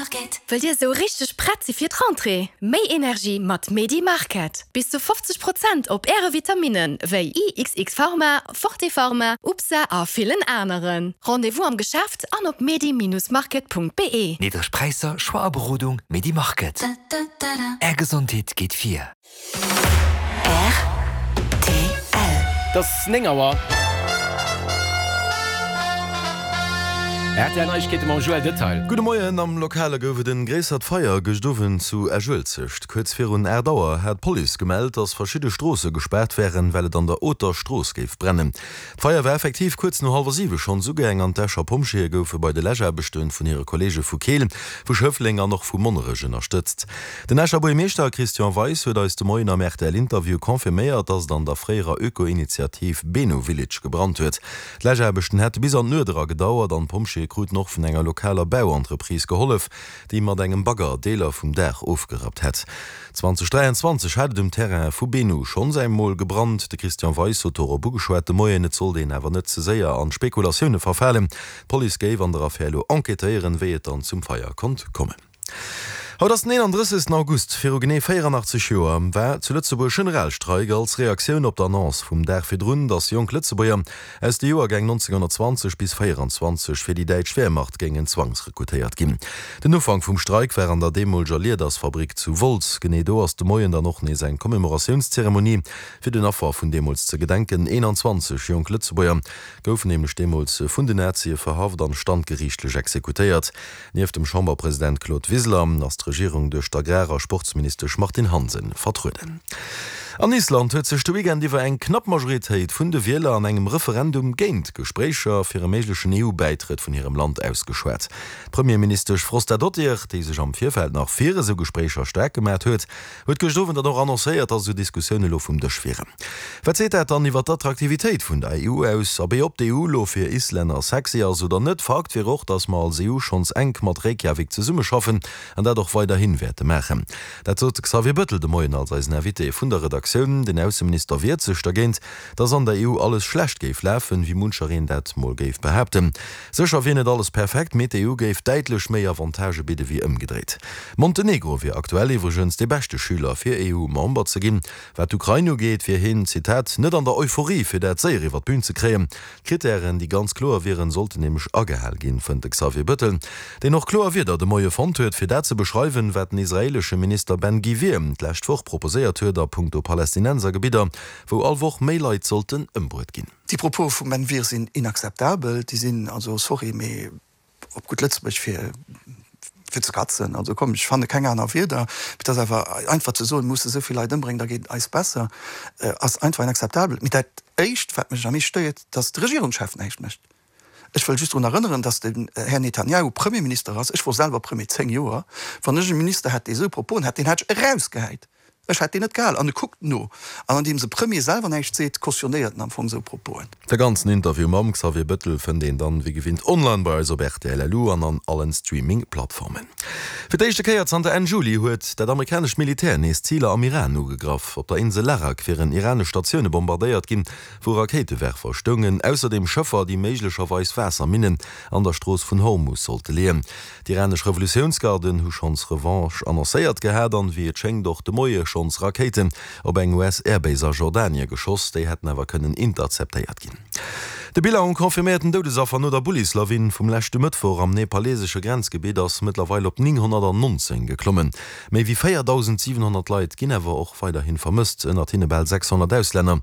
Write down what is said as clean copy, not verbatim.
Market. Wëllt Dir esou richteg prett si fir d'Rentrée? Méi Energie mat Medi Market! Bis zu 50 Prozent op Äre Vitaminen wéi IXX Pharma, Forte Pharma, UPSA a villen aneren. Rendez-vous am Geschäft an op medi-market.be. Niddreg Präisser, Choix a Berodung, Medi Market. Är Gesondheet geet vir. Rtl. Et ass 9 Auer. Rtl Neiegkeete mam Joël Detail. Gudde Moien, Am Lokale gouf et en gréissert Feier gëscht Owend zu Esch-Uelzecht. Kuerz virun 8 Auer hat d'Police gemellt, dass verschidde Stroosse gespaart wären, well et an der Oter Strooss géif brennen. D'Feier war effektiv kuerz no hallwer 7 schonns ugaang an d'Escher Pompjeeë goufe bei de Läschaarbechte vun hire Kolleege vu Keel, vu Schëffleng an och vu Monnerech ënnerstëtzt. Den Escher Buergermeeschter Christian Weis huet eis de Moien am RTL-Interview confirméiert, dass et an der fréierer Öko-Initiativ Benu Village gebrannt huet. D'Läschaarbechten hätte bis an d'Nuet era gedauert an d'Pompjeeë kruten och vun enger lokaler Bauentreprise gehollef, déi mat engem Bagger Deeler vum Daach ofgerappt hätt. 2023 hat et um Terrain vu Benu schonns eng Mol gebrannt. De Christian Weis huet dorop ugeschwat de Moien, et sollt een awer net ze séier an Spekulatioune verfalen. D'Police géif an der Affär elo enquêtéieren, wéi et dann zum Feier konnt kommen. Haut ass den 31. August. Viru genee 84 Joer war zu Lëtzebuerg Generalstreik als Reaktioun op d'Annonce vum Dag virdrun, datt jonk Lëtzebuerger aus de Joergäng 1920 bis 24 fir déi däitsch Wehrmacht géingen zwangsrekrutéiert ginn. Den Ufank vum Streik war an der deemoleger Liedersfabrik zu Wolz. Genee do ass de Moien dann och nees eng Commémoratiounszeremonie fir den Affer vun deemools ze gedenken. 21 jonk Lëtzebuerger goufen nämlech deemools vun den Nazie verhaft an standgeriichtlech exekutéiert. Nieft dem Chamberpresident Claude Wiseler ass d'Regierung duerch d'Agrar a Sportsministesch Martine Hansen vertrueden. An Island huet sech de Weekend iwwer eng knapp Majoritéit vun de Wieler an engem Referendum géint Gespréicher fir e méiglechen EU-Bäitrëtt vun hirem Land ausgeschwat. D'Premierministesch Frostadottir, déi sech am Virfeld nach fir esou Gespréicher staark gemat huet, Huet gëscht Owend dann och annoncéiert, dass esou Diskussioune elo vum Dësch wieren. Wat seet dat dann iwwer d'Attraktivitéit vun der EU aus? Abee, ob d'EU elo fir Islänner sexy ass oder net, Fakt wier och, dass mer als EU schonns enk mat Reykjavik zesummeschaffen an dat och weiderhi wäerte maachen. Dat sot de Xavier Bëttel de Moien als eisen Invité vun der Redaktioun. Den Ausseminister wiert sech dergéint, dass an der EU alles schlecht géif lafen, wéi munchereen dat mol géif behaapten. Sécher wier net alles perfekt, mee d'EU géif däitlech méi Avantagë bidde wéi ëmgedréit. Montenegro wier aktuell iwwregens dee beschte Schüler fir EU-Member ze ginn. Wat d'Ukrain ugeet, wier hien, Zitat, net an der Euphorie fir dat séier iwwer d'Bün ze kréien. D'Krittären, déi ganz kloer wieren, sollten nämlech agehal ginn, fënnt de Xavier Bëttel, deen och kloer Wierder de Moie fonnt huet, fir dat ze beschreiwen, wat den israeelesche Minister Ben Gvir d'lescht Woch proposéiert huet a punkto Palästinensergebidder, wou all Woch méi Leit sollten ëmbruet ginn. Déi Propos vum Ben Gvir sinn inakzeptabel. Déi sinn, also sorry, mee op gutt Lëtzebuerg fir fir ze katzen. Also komm, ech fanne keng aner Wierder. Mee et ass awer einfach ze soen, mir musse esou vill Leit ëmbréngen, da geet et eis besser, ass einfach inakzeptabel. Mee dat Éischt, wat mech am meescht stéiert, datt de Regierungschef näischt mécht. Ech wëll just drun erënneren, datt den Här Netanjahu Premierminister ass. Ech wor selwer Premier 10 Joer. Wann ech e Minister hätt, dee esou Proposen hätt, deen hätt ech erausgehäit. Ech hätt deen net gehal. An e kuckt no. An andeems e Premier selwer näischt seet, cautionnéiert en am Fong esou Proposen. De ganzen Interview mam Xavier Bettel fënnt een dann wéi gewinnt online bei eis op rtl.lu an an allen Streaming-Plattformen. Fir d'éischte Kéier zanter Enn Juli huet dat amerikanescht Militär nees Ziler am Iran ugegraff. Op der Insel Larak wieren iranesch Statioune bombardéiert ginn, wou Rakéitewerfer stoungen, ausserdeem Schëffer, déi méiglecherweis Waasserminnen an der Strooss vun Hormus sollte leeën. D'iranesch Revolutiounsgarden hu schonns Revanche annoncéiert gehat an, wéi et schéngt, och de Moie schonns Rakéiten op eng US-Airbase a Jordanie geschoss. Déi hätten awer kënnen interceptéiert ginn. De Bilan u confirméierten Doudesaffer no der Bullislawin vum leschte Mëttwoch am nepalesesche Grenzgebitt ass mëttlerweil op 919 geklommen. Méi wéi 4.700 Leit ginn awer och weiderhi vermësst, ënnert hinne bal 600 Auslänner.